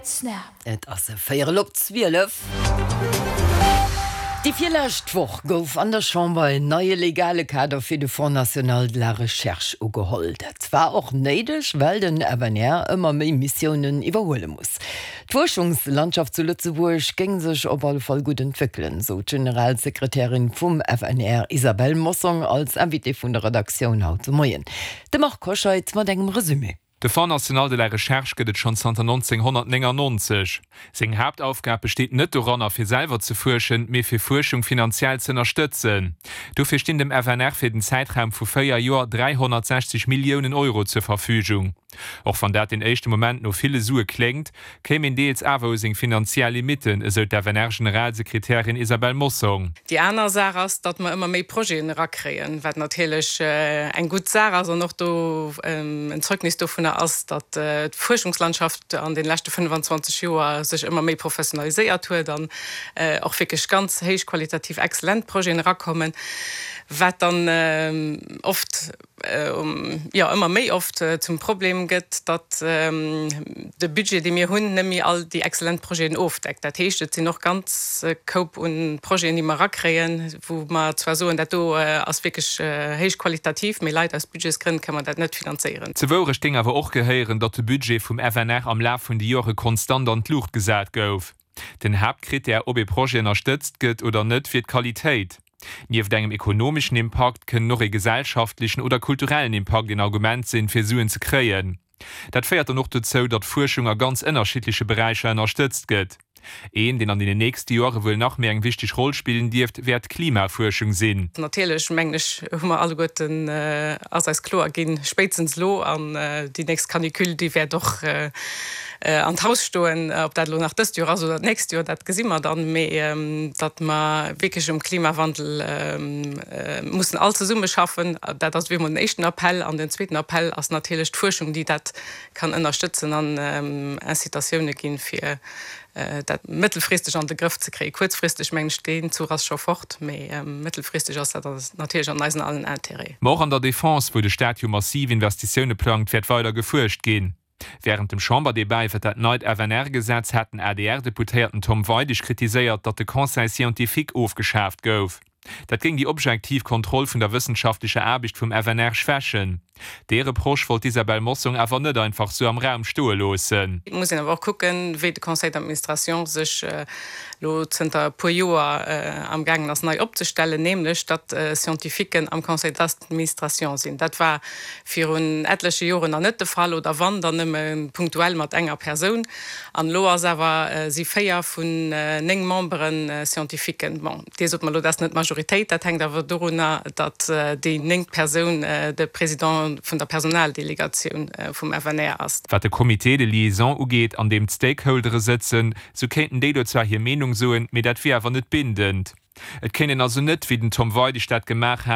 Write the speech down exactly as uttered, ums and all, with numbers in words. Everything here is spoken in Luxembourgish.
Snap. Et ass e Véierel op zwielef. Déi virlescht Woch gouf an der Chamber en neie legale Kader fir de Fonds national de la Recherche ugeholl. Dat war och néideg, well den F N R ëmmer méi Missiounen iwwerhuele muss. D'Fuerschungslandschaft zu Lëtzebuerg géing sech op alle Fall gutt entwéckelen, sou d'Generalsekretärin vum F N R Isabelle Mossong als Invitée vun der Redaktioun haut de Moien. De Marc Hoscheid mat engem Resumé. De Fonds national de la Recherche gëtt et schonn zanter nonzénghonnertnéngannonzeg. Seng Haaptaufgab besteet net doranner, fir selwer ze fuerschen, mee fir Fuerschung finanziell ze ënnerstëtzen. Dofir stinn dem F N R fir den Zäitraum vu véier Joer dräihonnertsechzeg Milliounen Euro zur Verfügung. Och wann dat den éischte Moment no ville Sue kléngt, kéim een deels awer u seng finanziell Limitten, esou d'F N R-Generalsekretärin Isabelle Mossong. Déi aner Saach ass, datt mer ëmmer méi Projeten erakréien, wat natierlech eng gutt Saach ass an och do en Zeugnis dovunner ass, datt d'Fuerschungslandschaft an de leschte fënnefenzwanzeg Joer sech ëmmer méi professionaliséiert huet an och wierklech ganz héichqualitativ exzellent Projeten erakommen, wat dann oft, jo, ëmmer méi oft zum Problem gëtt, datt de Budget, dee mir hunn, net méi all déi exzellent Projeten ofdeckt. Dat heescht, et sinn och ganz Koup un Projeten, déi mer erakréien, wou mer zwar soen, dat do ass wierklech héichqualitativ, mee leider aus Budgetsgrënn kënne mer dat net finanzéieren. Zur Wourecht géing awer och gehéieren, datt de Budget vum F N R am Laf vun de Jore konstant an d'Luucht gesat gouf. Den Haaptkrittär, ob e Projet ënnerstëtzt gëtt oder net, wier d'Qualitéit. Nieft engem ekonomeschen Impakt kënnen och e gesellschaftlechen oder kulturellen Impakt en Argument sinn, fir Suen ze kréien. Dat féiert dann och dozou, datt Fuerschung a ganz ënnerschiddleche Beräicher ënnerstëtzt gëtt. Een, deen an den nächste Jore wuel nach méi eng wichteg Roll spillen dierft, wäert d'Klimafuerschung sinn. Natierlech, mengen ech, hu mer alleguerten, ass eis kloer ginn, spéitstens elo an déi nächst Canicule, déi wäert och an d'Haus stoen, ob dat elo nach dëst Joer ass oder d'nächst Joer, dat gesi mer dann, mee datt mer wierklech um Klimawandel mussen all zesummeschaffen, dat ass wéi emol den éischten Appell. An den zweeten Appell ass natierlech d'Fuerschung, déi dat kann ënnerstëtzen an Incitatioune ginn, fir dat mëttelfristeg an de Grëff ze kréien. Kuerzfristeg, mengen ech, deen Zuch ass scho fort, mee mëttelfristeg ass dat natierlech an eisen allen Interêt. Ma och an der Defense, wou de Staat jo massiv Investitioune plangt, wäert weider gefuerscht ginn. Wärend dem Chamberdebat iwwer dat neit F N R-Gesetz hat den A D R-Deputéierten Tom Weidig kritiséiert, datt de Conseil scientifique ofgeschaaft gouf. Dat géing déi objektiv Kontroll vun der wëssenschaftlecher Aarbecht vum F N R schwächen. Dee Reproche wollt d'Isabelle Mossong awer net einfach sou am Raum stoe loossen. Et muss een awer och kucken, wéi de Conseil d'administration sech elo zënter e puer Joer amgaangen ass nei opzestellen, nämlech datt Scientifiquen am Conseil d'administration sinn. Dat war virun etleche Joren nach net de Fall, oder wann, dann nëmme punktuell mat enger Persoun. An elo ass awer, si véier vun néng Membere Scientifiquen. Bon, Dir sot mer elo, dat ass net d'Majoritéit, dat hänkt awer dorunner, datt déi néngt Persoun de Président vun der Personaldelegatioun vum F N R ass. Wat de Comité de liaison ugeet, an deem d'Stakeholdere sëtzen, sou kéinten déi do zwar hir Meenung soen, mee dat wier awer net bindend. Et kéint een also net, wéi den Tom Weidig dat gemaach hat,